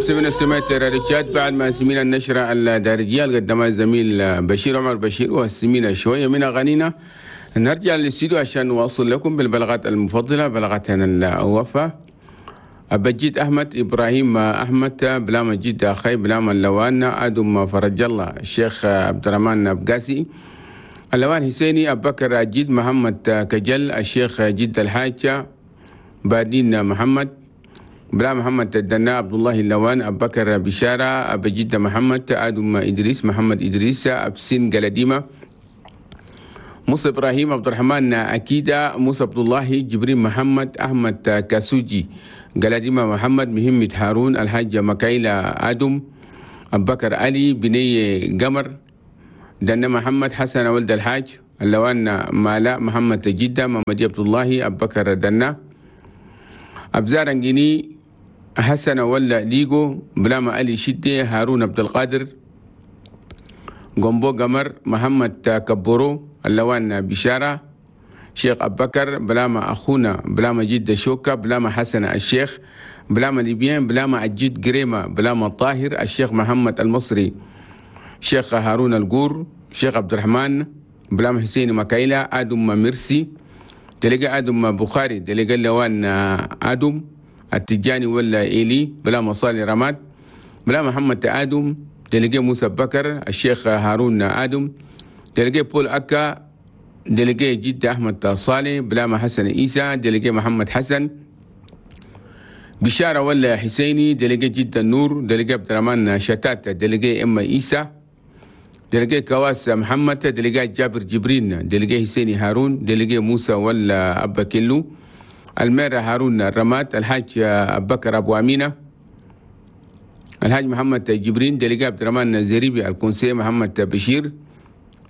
مستمعينا سمعت ريتشاد بعد ما سمينا النشرة الدارجية اللي قدمها الزميل بشير عمر بشير، وسمينا شوية من أغانينا. نرجع للاستديو عشان نواصل لكم بالبلاغات المفضلة، بلاغاتنا الوفا. أبجيت أحمد إبراهيم أحمد بلا مجيد أخي بلا من لوان آدم فرج الله الشيخ عبد الرحمن بقاسي اللوان حسيني أبو بكر أجيد محمد كجل الشيخ جد الحاج بادين محمد بلا محمد الدنا عبد الله اللوان أبو بكر بشارة أبو جد محمد آدم إدريس محمد إدريس أبسين قلديمة موسى إبراهيم عبد الرحمن أكيدة موسى عبد الله جبريل محمد أحمد كاسوجي قلديمة محمد مهمة هارون الحاج مكايلة آدم أبو بكر علي بني قمر دنا محمد حسن ولد الحاج اللوان مالا محمد جدة محمد عبد الله أبو بكر دنا أبزار انجيني حسن ولا ليجو بلاما علي شدة هارون عبد القادر قنبو قمر محمد كبورو اللوان بشارة شيخ أبو بكر بلاما أخونا بلاما جدة شوكة بلاما حسن الشيخ بلاما ليبيان بلاما أجيد قريمة بلاما طاهر الشيخ محمد المصري شيخ هارون القور شيخ عبد الرحمن بلاما حسين مكايلة آدم مرسي تلقى آدم بخاري تلقى اللوان آدم التجاني ولا إيلي بلا مصالي رماد بلا محمد آدم تلقى موسى بكر الشيخ هارون آدم تلقى بول أكا تلقى جد أحمد صالح بلا ما حسن إيسى تلقى محمد حسن بشارة ولا حسيني تلقى جد النور تلقى عبد الرحمن شتات تلقى إما إيسى تلقى كواس محمد تلقى جابر جبرين تلقى حسيني هارون تلقى موسى ولا أبا كيلو المير هارون الرماد الحاج أبو بكر أبو أمينة الحاج محمد جبرين دلقى عبد الرحمن زريبي الكونسي محمد بشير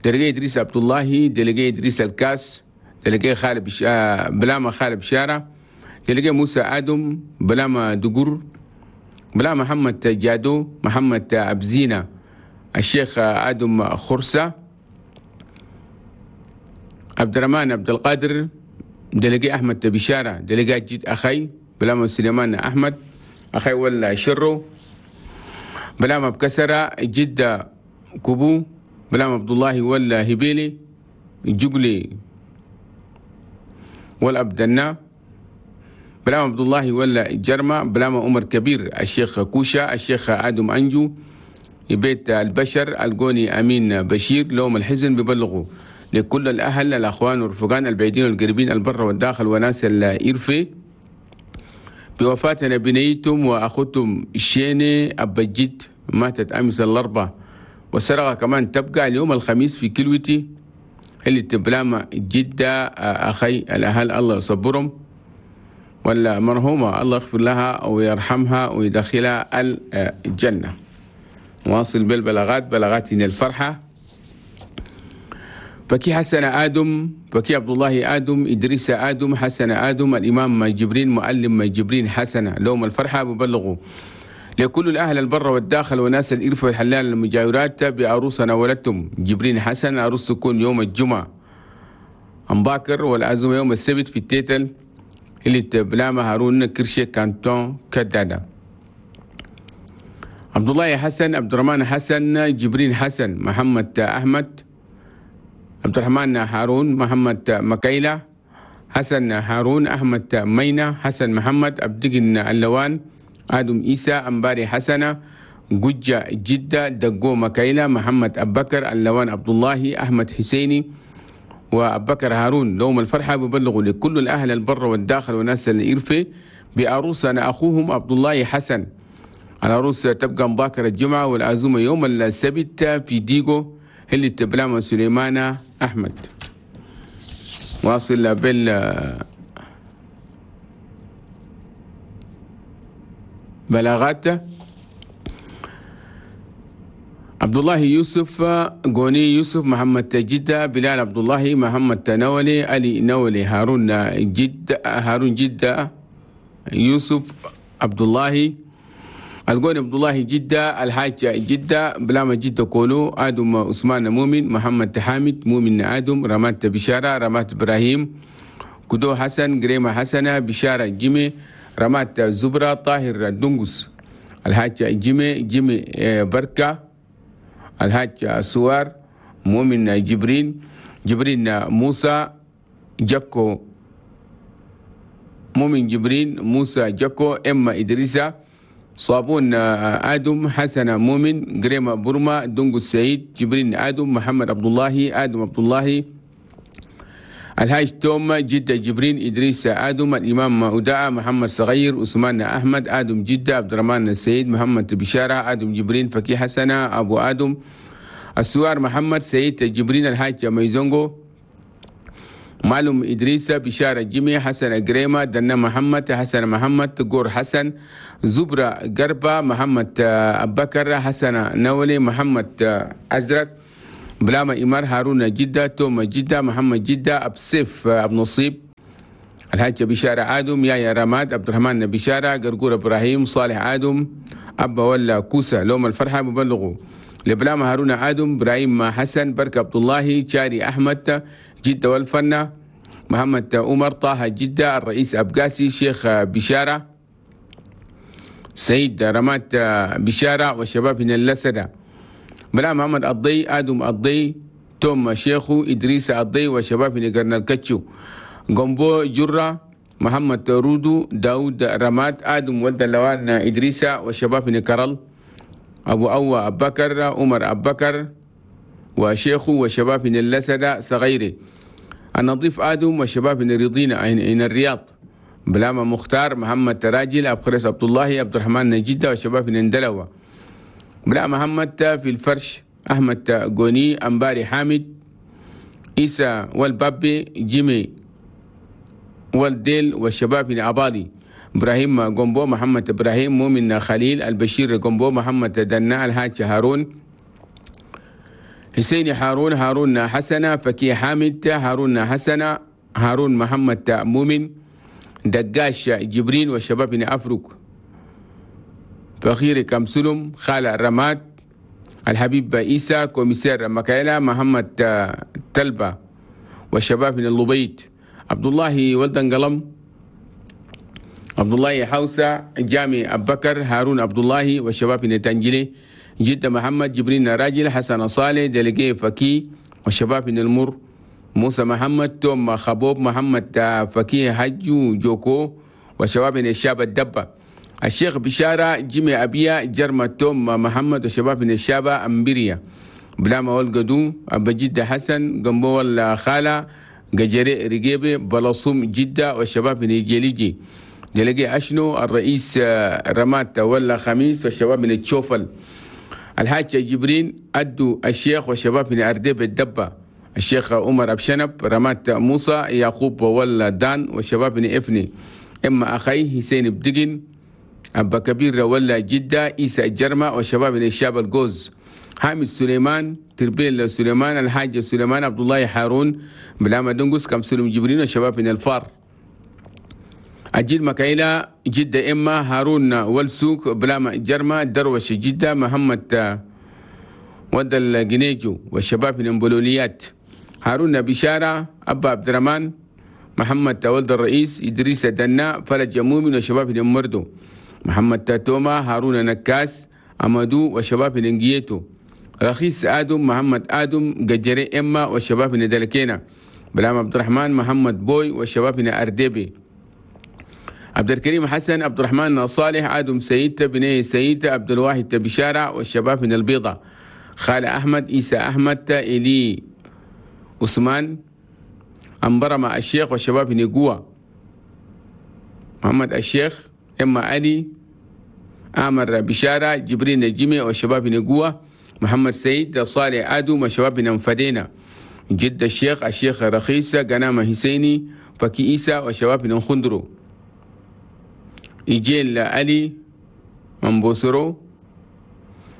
دلقى إدريس عبد الله دلقى إدريس الكاس دلقى خالد بلاما خالد بشارة دلقى موسى آدم بلاما دقور بلا محمد جادو محمد أبزينة الشيخ آدم خرسة عبد الرحمن عبد القادر دلقي أحمد بشارة دلقي جد أخي بلاما سليمان أحمد أخي ولا شرو بلاما بكسرة جدة كوبو بلاما عبد الله ولا هبيلي جقلي والأبدنا بلاما عبد الله ولا جرمة بلاما عمر كبير الشيخ كوشا الشيخ آدم أنجو بيت البشر القوني أمين بشير لوم الحزن ببلغوا لكل الأهل الأخوان والرفقان البعيدين والقريبين البر والداخل وناس الإرفي بوفاتنا بنيتم وأخوتم الشيني أبا جد ماتت أمس الأربعاء والسرقة كمان تبقى اليوم الخميس في كلوتي اللي تبلاما جدة أخي الأهل الله يصبرهم ولا مرحومة الله يغفر لها ويرحمها ويدخلها الجنة. واصل بالبلاغات بلاغاتنا الفرحة. بكي حسن آدم بكي عبد الله آدم إدريس آدم حسن آدم الإمام جبرين معلم جبرين حسن لوم الفرحة ببلغوا لكل الأهل البر والداخل وناس الإرفة والحلال المجاورات بعروسنا ولدتم جبرين حسن عروس تكون يوم الجمعة أمباكر والعزومة يوم السبت في التيتل اللي تبلاما هارون كرشي كانتون كدادة. عبد الله حسن عبد الرحمن حسن جبرين حسن محمد أحمد عبد الرحمن هارون محمد مكايلة حسن هارون أحمد مينا حسن محمد أبدقن اللوان آدم إيسى أمباري حسنة ججة جدة دقو مكايلة محمد أبكر اللوان عبد الله أحمد حسيني وأبكر هارون لهم الفرحة ببلغوا لكل الأهل البر والداخل وناس الإرفة بعروسنا أخوهم عبد الله حسن. العروس تبقى مباكر الجمعة والعزومة يوم السبت في ديغو اللي تبلاما سليمان أحمد. واصل بال بلاغات عبد الله يوسف غوني يوسف محمد جدة بلال عبد الله محمد نولي علي نولي هارون جدة هارون جدة يوسف عبد الله القوني عبد الله جدة الحاج جدة بلاما جدة كولو آدم عثمان مؤمن محمد حامد مؤمن آدم رمات بشارة رمات إبراهيم كدو حسن قريمة حسنة بشارة جيمي رمات زبرة طاهر دنقس الحاج جيمي جيمي بركة، الحاج سوار مؤمن جبرين، جبرين موسى جاكو، مؤمن جبرين موسى جاكو، إما إدريسة صابون آدم، حسن مؤمن، قريمة برما، دونجو السعيد، جبرين آدم، محمد عبد الله، آدم عبد الله، الحاج توم، جدة جبرين، إدريس آدم، الإمام أوداع، محمد صغير، عثمان أحمد، آدم جدة، عبد الرحمن السيد، محمد بشارة، آدم جبرين، فكي حسنة، أبو آدم، السوار محمد سيد جبرين، الحاج ميزونغو، معلوم إدريس، بشارة جيمي، حسن قريمة، دنا محمد، حسن محمد، قور حسن، زبرة قربة، محمد أبكر، حسن نولي، محمد أزرق، بلاما إمار، هارون جدة، توما جدة، محمد جدة، أبسيف أبو نصيب، الحاج بشارة آدم، يايا رماد، عبد الرحمن بشارة، قرقور إبراهيم، صالح آدم، أبا ولا كوسة، لوم الفرحة مبلغه لبلاما هارون آدم، إبراهيم حسن، بركة عبد الله، شاري أحمد، جدة والفنة، محمد عمر، طه جدة، الرئيس أبقاسي، شيخ بشارة، سيد رمات بشارة، والشباب من اللسدة، بلا محمد الضي، آدم الضي، توم شيخو، إدريس الضي، وشباب من قرن الكتشو، قنبو جرة، محمد رودو، داود رمات، آدم ولد اللوان إدريس، وشباب من كرل، أبو أوا أبكر، عمر أبكر، وشيخو، وشباب من اللسدة صغيري، النظيف آدم، وشباب من رضينا إن الرياض، بلاما مختار، محمد تراجل، أبو خريس عبد الله، عبد الرحمن جدة، وشباب من اندلوة، بلا محمد في الفرش، أحمد غوني، أنباري حامد، إيسا والبابي، جيمي والديل، والشباب من أبادي، إبراهيم غومبو، محمد إبراهيم، مؤمن خليل، البشير غومبو، محمد دنا، الحاج هارون، حسين هارون، هارون حسنة، فكي حامد، هارون حسنة، هارون محمد مؤمن، دقاش جبرين، والشباب من أفرق، فخير كمسلم، خالة رماد، الحبيب إيسا، كوميسير مكايلا، محمد تلبة، والشباب من اللبيت، عبد الله ولدن قلم، عبد الله حوسة، جامي أبكر، هارون عبد الله، والشباب من تنجلي، جدة محمد، جبرين راجل، حسن صالح، دلقي فكي، والشباب من المر، موسى محمد، توم خبوب، محمد فكي، حجو جوكو، والشباب من الشاب الدبة، الشيخ بشارة، جيمي أبيا، جرمة توم محمد، وشباب من الشابة أمبريا، بلاما والقدو، أبا جدة حسن، قنبو الخالة، قجري رقيبي، بلصوم جدة، والشباب من جيليجي، دلقي أشنو، الرئيس رمات ولا خميس، والشباب من التشوفل، الحاج جبرين، أدو الشيخ، والشباب من أردب الدبة، الشيخ عمر أبشنب، رمات موسى، يعقوب ولا دان، والشباب من إفني، إما أخي حسين بدقن، أبا كبير ولا جدة، إيسا الجرمة، والشباب من الشاب الجوز، حامد سليمان، تربيل سليمان، الحاج سليمان، عبد الله هارون، بلاما دنقس، كم سلم جبرين، والشباب من الفار، أجيل مكايلة جدة، إما هارون والسوق، بلاما جرمة، دروش جدة، محمد ود الجنيجو، والشباب من امبولوليات، هارون بشارة، أبا عبد الرحمن، محمد ولد الرئيس، إدريس دنا، فلج مؤمن، وشباب من مردو، محمد توما، هارون نكاس، أمادو، وشباب نجيتو، رخيص آدم، محمد آدم، قجري إما، وشباب ندلكينا، بلام عبد الرحمن، محمد بوي، وشباب أردبي، عبد الكريم حسن، عبد الرحمن صالح، آدم سيد، بني سيد، عبد الواحد بشارة، والشباب من البيضة، خالة أحمد، إيسى أحمد، إلي عثمان، أمبرمة الشيخ، والشباب من قوة، محمد الشيخ، إما علي، آمر بشارة، جبرين الجمي، والشباب نقوة، محمد سيد، صالح آدم، والشباب ننفدينا، جد الشيخ، الشيخ رخيصة، قنامة حسيني، فكي إيسى، والشباب نخندرو، إجيل علي، أمبوسرو،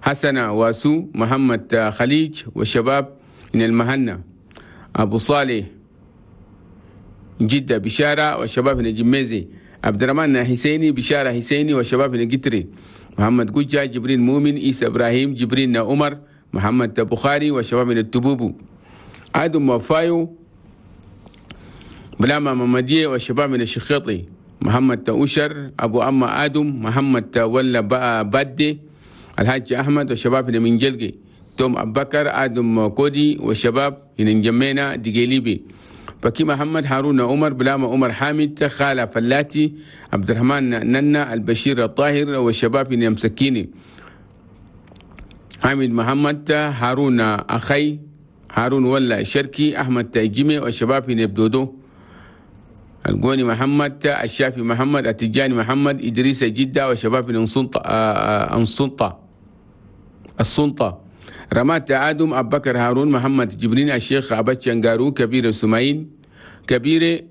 حسن واسو، محمد خليج، والشباب من المهنة، أبو صالح، جدة بشارة، والشباب من الجميزي، عبد الرحمن حسيني، بشارة حسيني، والشباب من قتري، محمد قجة، جبرين مؤمن، إيسى إبراهيم، جبرين عمر، محمد بخاري، والشباب من التبوبو، آدم وفايو، بلاما ممدية، والشباب من الشخيطي، محمد أشر، أبو أما آدم، محمد ولا بادي، الحاج أحمد والشباب هنا من جلقي، توم أبو بكر، آدم كودي والشباب هنا جمينا دقيليبي، فكي محمد، هارون عمر، بلاما عمر حامد، خالة فلاتي، عبد الرحمن ننا، البشير الطاهر والشباب هنا مسكيني، حامد محمد، هارون أخي، هارون ولا شركي، أحمد جيمي والشباب هنا بدودو، القوني محمد، الشافي محمد، التجاني محمد، إدريس جدة والشباب من السلطة، رمات آدم، أبو بكر هارون، محمد جبرين، الشيخ أبتشنغارو، كبير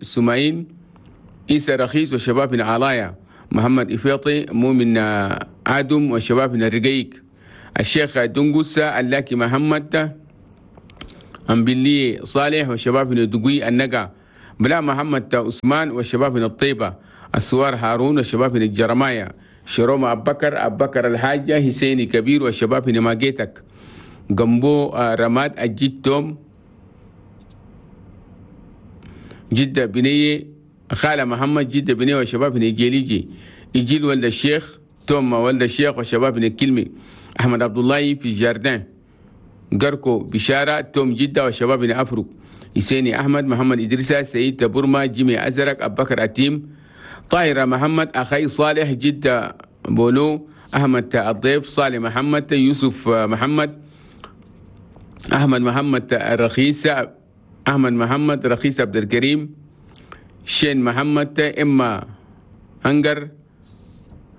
سماين، إيسى رخيص والشباب من علايا، محمد إفيطي، مؤمن آدم والشباب من الرقيق، الشيخ دنقوسة، اللاكي محمد، أمبلي صالح والشباب من الدقوي النقا، بلا محمد عثمان والشباب من الطيبة، السوار هارون والشباب من الجرمايا، شروم أبو بكر الحاجة، حسيني كبير والشباب من ماجيتك، جنبو رماد، الجد توم جدة بنية، خالة محمد جدة بنية والشباب من الجيليجي، يجيل ولد الشيخ توم ولد الشيخ والشباب من الكلمي، أحمد عبد الله في جاردان، قركو بشارة، توم جدة والشباب من أفرو، حسيني أحمد، محمد إدريسة، سيد برما، جيمي أزرق، أبو بكر أتيم، طاهرة محمد، أخي صالح جدة بولو، أحمد الضيف، صالح محمد، يوسف محمد، أحمد محمد رخيص، أحمد محمد رخيص، عبد الكريم شين محمد، إما أنجر،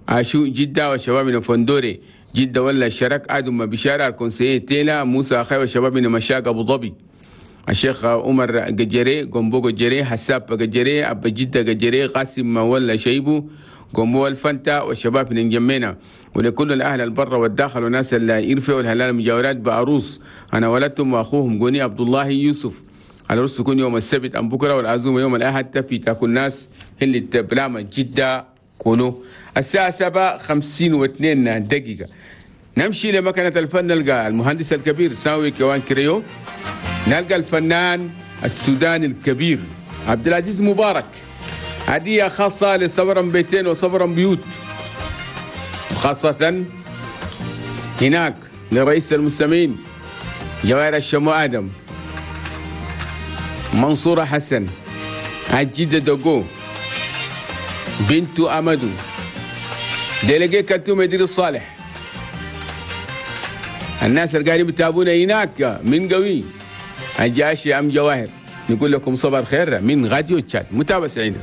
عاشو جدة والشباب من فندوري جدة ولا الشرك، آدم بشارة، الكونسية تيلا، موسى أخي والشباب من مشاق أبو ظبي، الشيخ عمر قجري، قنبو قجري، حساب قجري، أبا جدة قجري، قاسم ولا شيبو، قنبو الفنتا والشباب من جمينا، ولكل الأهل البر والداخل وناس الإرفة والهلال المجاورات بأروس، أنا ولدتهم وأخوهم قوني عبد الله يوسف. العرس يكون يوم السبت أم بكرة، والعزومة يوم الأحد في تاكل ناس اللي بلامة جدة كونوا. الساعة 7:52. نمشي لمكنة الفن، نلقى المهندس الكبير ساوي كوان كريو، نلقى الفنان السوداني الكبير عبد العزيز مبارك، هدية خاصة لصبرا بيتين وصبرا بيوت، وخاصة هناك لرئيس المستمعين جواهر الشمو آدم، منصورة حسن، عجيدة دوغو، بنت أمدو، ديليجي كتوم إدريس صالح. الناس اللي قاعدين بتابونا هناك من قوي الجاشي أم جواهر، نقول لكم صباح الخير من راديو تشاد. متابعة سعيدة.